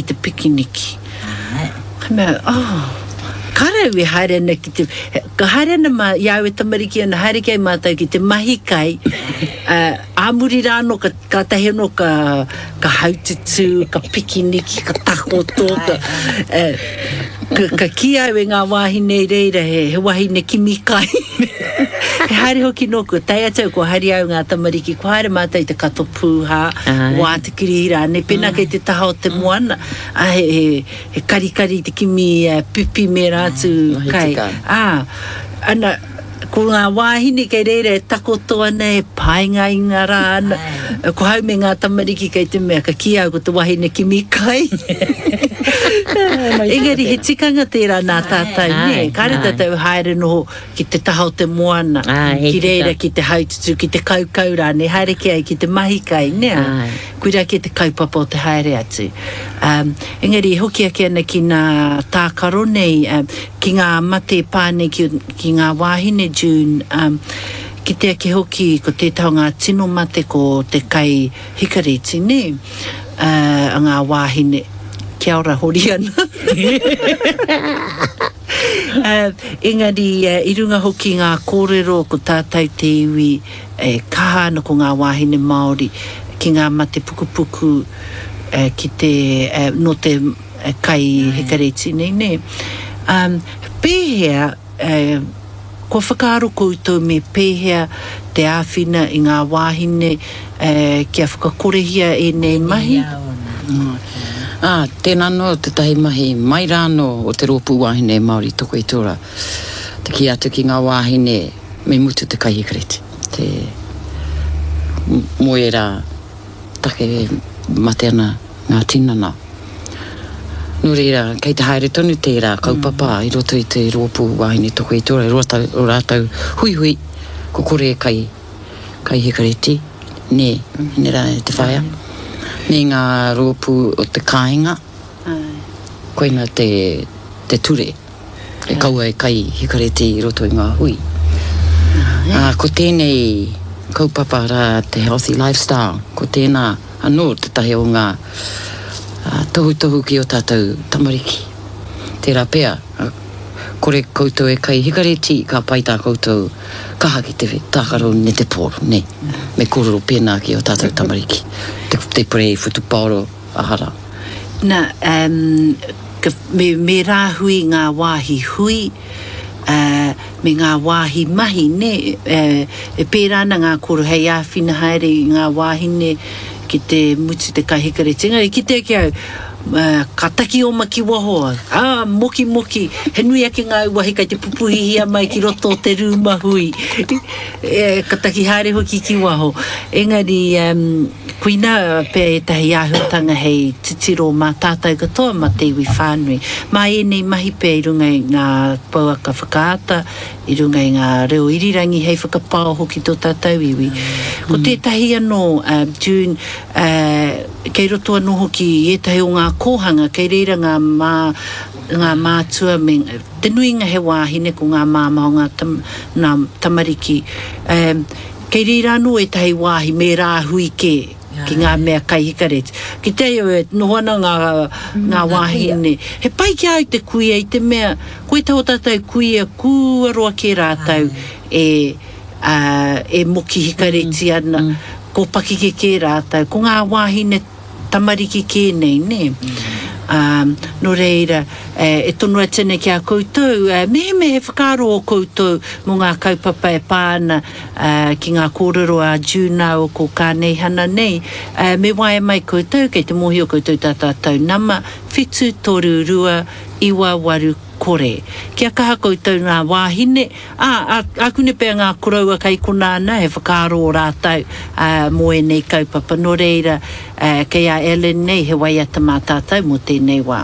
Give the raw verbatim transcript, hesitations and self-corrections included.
te pikiniki. Ka mea, oh, kāre au e haere ana ki te, ka haere ana mā, i a au e tamariki ana, haere kei mātou ki te mahi kai, uh, ā muri rā anō, ka, kātahi anō ka, ka haututū, ka pikiniki, ka takoto, ka, uh, ka, ka kī au e ngā wāhine i reira, he, he wahine kimi kai. He haere hoki nōku, tae atu au, kua haere au ngā tamariki, kua haere mātou i te kato pūhā, wātekirihi rānei, pēnā kei te taha o te moana, ā, he, he, he karikari te kimi pipi me ērā atu kai. Ā, ana, ko ngā wāhine kei reira e takoto ana, e pāingainga rā ana, ko hau me ngā tamariki kei te mea, ka kī au ko te wahine kimi kai. Engari he tikanga tērā nā tātou, nē, kāre tātou haere noho ki te taha o te moana, ki reira ki te haututū, ki te kaukau rānei, haere kē ai ki te mahi kai, nē? Koirā kē te kaupapa o te haere atu. Um, engari e hoki ake ana ki ngā tākaro nei, um, ki ngā mate e pā nei ki, ki ngā wāhine, June, um, kite ake hoki ko tētahi o ngā tino mate ko te kai hikareti, nē? Uh, a ngā wāhine. Kia ora, Horiana. Uh, engari, uh, i runga hoki ngā kōrero ko tātou te iwi e kaha ana ko ngā wāhine Māori ki ngā mate pukupuku uh, ki te, uh, nō te uh, kai hikareti nei, nē. Um, pēhea, uh, kua whakaaro koutou me pēhea te āwhina i ngā wāhine uh, kia whakakorehia ēnei mahi? Ā, tēnā anō tētahi mahi mai rā anō o te Rōpū Wāhine Māori Toko i te Ora, te kī atu ki ngā wāhine me mutu te kai hikareti, te mō ērā take e mate ana ngā tinana. Nō reira, kei te haere tonu tērā kaupapa i roto i te Rōpū Wāhine Toko i te Ora, e rua tau o rātou huihui, ko kore e kai. Kai hikareti, nē, nē rā e te whaea, me ngā rōpū o te kāinga, koina te, te ture, e kaua e kai hikareti i roto i ngā hui. Ā, ko tēnei kaupapa rā te Healthy Lifestyle, ko tēnā anō tētahi o ngā tohutohu ki ō tātou tamariki. Tērā pea, kore koutou e kai hikareti, ka pai tā koutou kaha ki te tākaro netepōro, nē. Me kōrero pēnā ki ō tātou tamariki, te, te purei whutupaoro, aha rā. Nā, um, ka, me, me rāhui ngā wāhi hui, uh, me ngā wāhi mahi, nē, uh, e pērā ana ngā kōrero hei āwhina haere i ngā wāhine ki te mutu te kai hikareti. Engari, kite ake au, Ka taki oma ki waho, ā, mokimoki, he nui ake ngā uahi kei te pupuhihia mai ki roto o te rūma hui. E, ka taki haere hoki ki waho. Engari, um, koinā pea ētahi āhuatanga hei titiro mā tātou katoa, mā te iwi whānui. Mā ēnei mahi pea i runga i ngā pouaka whakaata, i runga i ngā reo irirangi hei whakapaoho ki tō tātou iwi. Ko tētahi anō, uh, June, uh, kei roto anō hoki i ētahi o ngā kōhanga, kei reira ngā mā, ngā mātua me, te nuinga he wāhine, ko ngā māmā o ngā tam, nā tamariki. Um, kei reira anō ētahi wāhi me rāhui kē ki ngā mea kai hikareti. Ki te au e noho ana ngā, ngā wāhine. He pai ki a au te kuia i te mea, ko ētahi o tātou kuia kua roa kē rātou e, ā, e moki hikareti ana, ko pakeke kē rātou, ko ngā wāhine tamariki kē nei, nē. Ā, nō reira, e tono atu ana ki a koutou, mehemea he whakaaro ō koutou mō ngā kaupapa e pā ana ki ngā kōrero a June rāua ko Kāneihana nei, me waea mai koutou, kei te mōhio koutou tā tātou nama, whitu toru rua iwa waru kore. Kia kaha koutou ngā wāhine, ā, ā, ākune pea ngā koroua kei konā ana, he whakaaro ō rātou, ā, mō ēnei kaupapa. Nō reira, ā, kei a Ellen nei he waiata mā tātou mō tēnei wā.